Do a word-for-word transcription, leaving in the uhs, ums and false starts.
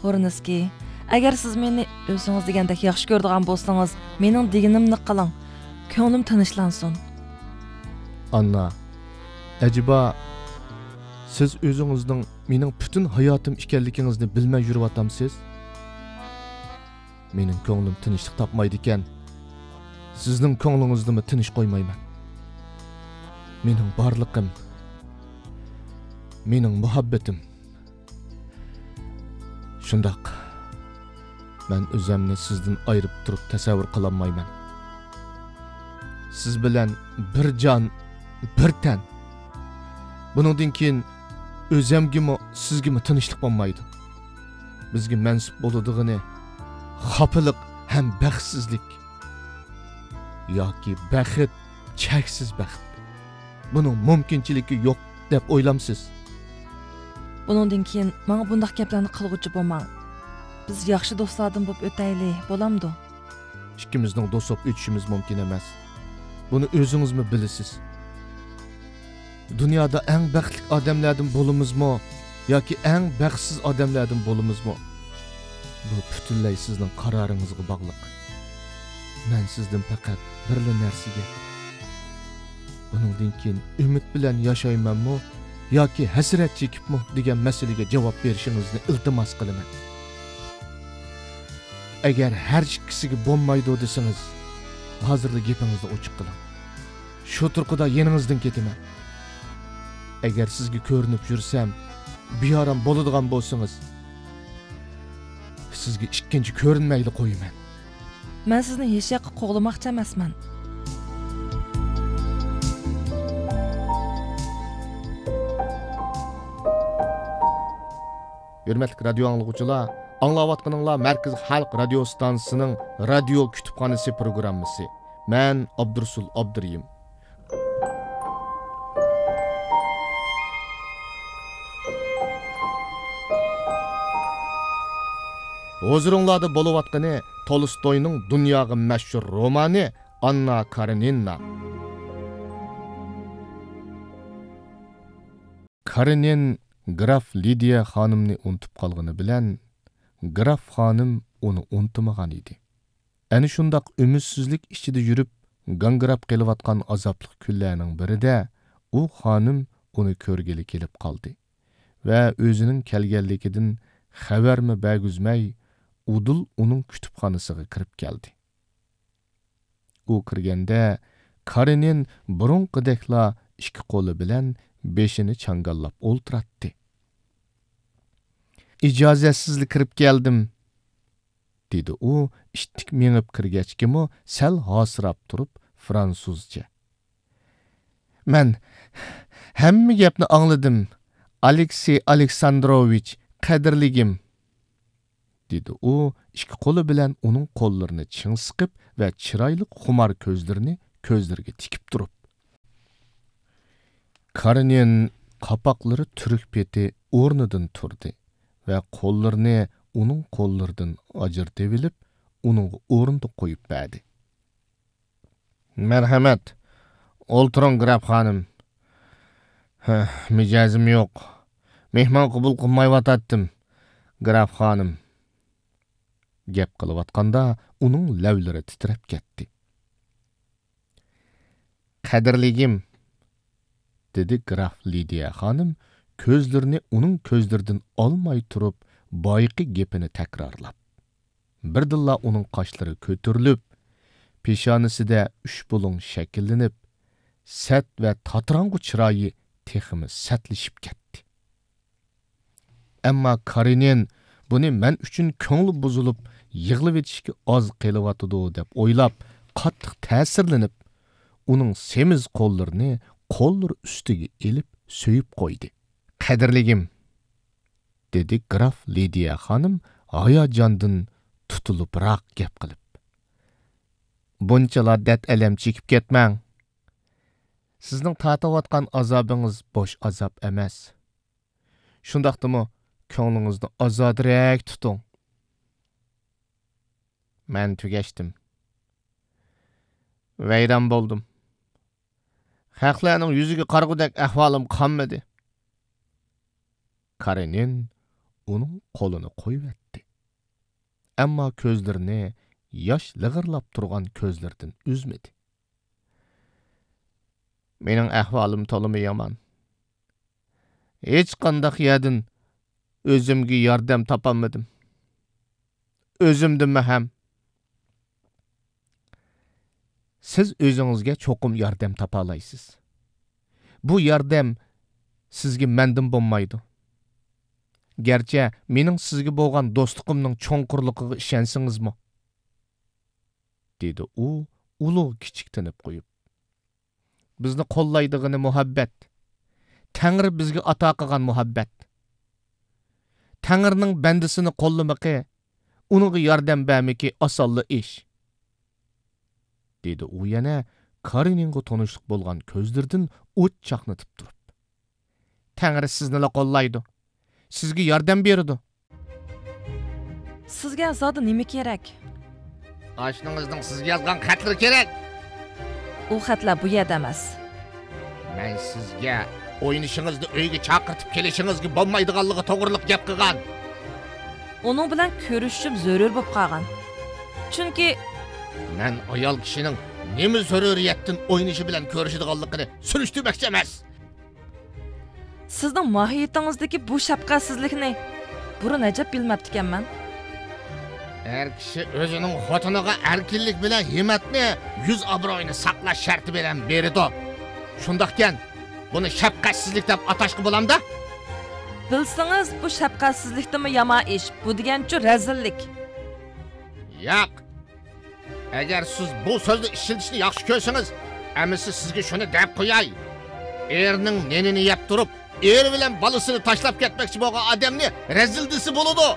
بۇرنىسكىي، ئەگەر سىز مېنى ئۆزىڭىز دېگەندەك ياخشى كۆرىدىغان بولسىڭىز، مېنىڭ دېگىنىمنى قىلىڭ. كۆڭلۈم تىنچلانسۇن. ئاننا، ئەجەبا، سىز ئۆزىڭىزنىڭ مېنىڭ پۈتۈن ھاياتىم ئىكەنلىكىڭىزنى بىلمەي يۈرۈۋاتامسىز؟ مېنىڭ كۆڭلۈم تىنچلىق تاپمايدىكەن، سىزنىڭ كۆڭلىڭىزنىمۇ تىنچ قويمايمەن. مېنىڭ بارلىقىم، مېنىڭ مۇھەببىتىم. شۇنداق، مەن ئۆزەمنى سىزدىن ئايرىپ تۇرۇپ تەسەۋۋۇر قىلالمايمەن. سىز بىلەن بىر جان، بىر تەن. بۇنىڭدىن كېيىن ئۆزەمگىمۇ، سىزگىمۇ تىنچلىق بولمايدۇ. بىزگە مەنسۇپ بولىدىغىنى خاپىلىق ھەم بەختسىزلىك ياكى بەخت، چەكسىز بەخت. بۇنىڭ مۇمكىنچىلىكى يوق دەپ ئويلامسىز؟ بۇنىڭدىن كېيىن ماڭا بۇنداق گەپلەرنى قىلغۇچى بولماڭ. بىز ياخشى دوستلاردىن بولۇپ ئۆتەيلى، بولامدۇ؟ ئىككىمىزنىڭ دوست بولۇپ ئۆتۈشىمىز مۇمكىن ئەمەس. بۇنى ئۆزىڭىزمۇ بىلىسىز. دۇنيادا ئەڭ بەختلىك ئادەملەردىن بولىمىزمۇ ياكى ئەڭ بەختسىز ئادەملەردىن بولىمىزمۇ، بۇ پۈتۈنلەي سىزنىڭ قارارىڭىزغا باغلىق. مەن سىزدىن پەقەت بىرلا نەرسىگە، بۇنىڭدىن كېيىن ئۈمىد بىلەن ياشايمەنمۇ ياكى ھەسرەت چېكىپمۇ دېگەن مەسىلىگە جاۋاب بېرىشىڭىزنى ئىلتىماس قىلىمەن. ئەگەر ھەر ئىككىسىگە بولمايدۇ دېسىڭىز، ھازىرلا گېپىڭىزنى ئوچۇق قىلىڭ. شۇ تۇرقىدا يېنىڭىزدىن كېتىمەن. ئەگەر سىزگە كۆرۈنۈپ يۈرسەم، بىئارام بولىدىغان بولسىڭىز، سىزگە ئىككىنچى كۆرۈنمەيلا قويىمەن. مەن سىزنى ھېچياققا قوغلىماقچى ئەمەسمەن. ھۆرمەتلىك رادىيو ئاڭلىغۇچىلار، ئاڭلاۋاتقىنىڭلار مەركىزىي خەلق رادىيو ستانسىسىنىڭ رادىيو كۇتۇپخانىسى پروگراممىسى. مەن ئابدۇرۇسۇل ئابدۇرېھىم. ھۇزۇرۇڭلاردا بولۇۋاتقىنى تولستوينىڭ دۇنياغا مەشھۇر رومانى ئاننا كارېنىنا. كارېنىن گراف لىدىيە خانىمنى ئۇنتۇپ قالغىنى بىلەن، گراف خانىم ئۇنى ئۇنتۇمىغان ئىدى. ئەنە شۇنداق ئۈمىدسىزلىك ئىچىدە يۈرۈپ، گاڭگىراپ قېلىۋاتقان ئازابلىق كۈنلەرنىڭ بىرىدە ئۇ خانىم ئۇنى كۆرگىلى كېلىپ قالدى ۋە ئۆزىنىڭ كەلگەنلىكىدىن خەۋەرمۇ بەرگۈزمەي، ئۇدۇل ئۇنىڭ كۇتۇپخانىسىغا كىرىپ كەلدى. ئۇ كىرگەندە، كارېنىن بۇرۇنقىدەكلا ئىككى قولى بىلەن بېشىنى چاڭگاللاپ ئولتۇراتتى. «ئىجازەتسىزلا كىرىپ كەلدىم»، دېدى ئۇ ئىتتىك مېڭىپ كىرگەچكىمۇ سەل ھاسىراپ تۇرۇپ فرانسۇزچە. «مەن ھەممە گەپنى ئاڭلىدىم، ئالېكسېي ئالېكساندروۋىچ، قەدىرلىگىم.» دېدى ئۇ ئىككى قولى بىلەن ئۇنىڭ قوللىرىنى چىڭ سىقىپ ۋە چىرايلىق خۇمار كۆزلىرىنى كۆزلىرىگە تىكىپ تۇرۇپ. كارېنىن قاپاقلىرى تۈرۈك پېتى ئورنىدىن تۇردى ۋە قوللىرىنى ئۇنىڭ قوللىرىدىن ئاجرىتىۋېلىپ، ئۇنىڭغا ئورۇندۇق قويۇپ بەردى. «مەرھەمەت، ئولتۇرۇڭ، گراف خانىم.» «ھە، مىجەزىم يوق. مېھمان قوبۇل قىلمايۋاتاتتىم، گراف خانىم.» گەپ قىلىۋاتقاندا ئۇنىڭ لەۋلىرى تىترەپ كەتتى. «قەدىرلىگىم»، دېدى گراف لىدىيە خانىم كۆزلىرىنى ئۇنىڭ كۆزلىرىدىن ئالماي تۇرۇپ بايىقى گېپىنى تەكرارلاپ. بىردىنلا ئۇنىڭ قاشلىرى كۆتۈرۈلۈپ، پېشانىسىدە ئۈچ بۇلۇڭ شەكىللىنىپ، سەت ۋە تاتىراڭغۇ چىرايى تېخىمۇ سەتلىشىپ كەتتى. ئەمما كارېنىن بۇنى مەن ئۈچۈن كۆڭلى بۇزۇلۇپ، يىغلىۋېتىشكە ئاز قېلىۋاتىدۇ دەپ ئويلاپ، قاتتىق تەسىرلىنىپ، ئۇنىڭ سېمىز قوللىرىنى قوللىرى ئۈستىگە ئېلىپ سۆيۈپ قويدى. «قەدىرلىگىم»، دېدى گراف لىدىيە خانىم ھاياجاندىن تۇتۇلۇپراق گەپ قىلىپ. «بۇنچىلا دەرد-ئەلەم چېكىپ كەتمەڭ. سىزنىڭ تارتىۋاتقان ئازابىڭىز بوش ئازاب ئەمەس. شۇنداقتىمۇ كۆڭلىڭىزنى ئازادىرەك تۇتۇڭ. مەن تۈگەشتىم. ۋەيران بولدۇم. خەقلەرنىڭ يۈزىگە قارىغۇدەك ئەھۋالىم قالمىدى.» كارېنىن ئۇنىڭ قولىنى قويۇۋەتتى. ئەمما كۆزلىرىنى ياش لىغىرلاپ تۇرغان كۆزلىرىدىن ئۈزمىدى. مېنىڭ ئەھۋالىم تولىمۇ يامان. ھېچقانداق يەردىن ئۆزۈمگە ياردەم تاپالمىدىم. ئۆزۈمدىنمۇ ھەم. سىز ئۆزىڭىزگە چوقۇم ياردەم تاپالايسىز. بۇ ياردەم سىزگە مەندىن بولمايدۇ. گەرچە مېنىڭ سىزگە بولغان دوستلۇقۇمنىڭ چوڭقۇرلۇقىغا ئىشەنسىڭىزمۇ، دېدى ئۇ ئۇلۇغ كىچىك تىنىپ قويۇپ. بىزنى قوللايدىغىنى مۇھەببەت. تەڭرى بىزگە ئاتا قىلغان مۇھەببەت. تەڭرىنىڭ بەندىسىنى قوللىمىقى، ئۇنىڭغا ياردەم بەرمىكى ئاسانلا ئىش، دېدى ئۇ يەنە كارېنىنغا تونۇشلۇق بولغان كۆزلىرىدىن ئوت چاقنىتىپ تۇرۇپ. تەڭرى سىزنىلا قوللايدۇ. سىزگە ياردەم بېرىدۇ. سىزگە زادى نېمە كېرەك؟ ئاشنىڭىزنىڭ سىزگە يازغان خەتلىرى كېرەك. ئۇ خەتلەر بۇ يەردە ئەمەس. مەن سىزگە ئوينىشىڭىزنى ئۆيگە چاقىرتىپ كېلىشىڭىزگە بولمايدىغانلىقى توغرىلىق گەپ قىلغان. ئۇنىڭ بىلەن كۆرۈشۈشۈم زۆرۈر بولۇپ قالغان. چۈنكى مەن ئايال كىشىنىڭ نېمە زۆرۈرىيەتتىن ئوينىشى بىلەن كۆرۈشىدىغانلىقىنى سۈرۈشتۈرمەكچى ئەمەس. سىزنىڭ ماھىيىتىڭىزدىكى بۇ شەپقەتسىزلىكنى بۇرۇن ئەجەب بىلمەپتىكەنمەن. ئەر كىشى ئۆزىنىڭ خوتۇنىغا ئەركىنلىك بىلەن ھىممەتنى، يۈز ئابرۇيىنى ساقلاش شەرتى بىلەن بېرىدۇ. شۇنداقكەن، بۇنى شەپقەتسىزلىك دەپ ئاتاشقا بولامدا؟ بىلسىڭىز، بۇ شەپقەتسىزلىكتىنمۇ يامان ئىش. بۇ دېگەنچۇ رەزىللىك. ياق. ئەگەر سىز بۇ سۆزنى ئىشلىتىشنى ياخشى كۆرسىڭىز، ئەمىسە سىزگە شۇنى دەپ قوياي. ئېرىنىڭ نېنىنى يەپ تۇرۇپ، ئېرى بىلەن بالىسىنى تاشلاپ كەتمەكچى بولغان ئادەمنى رەزىل دېسە بولىدۇ.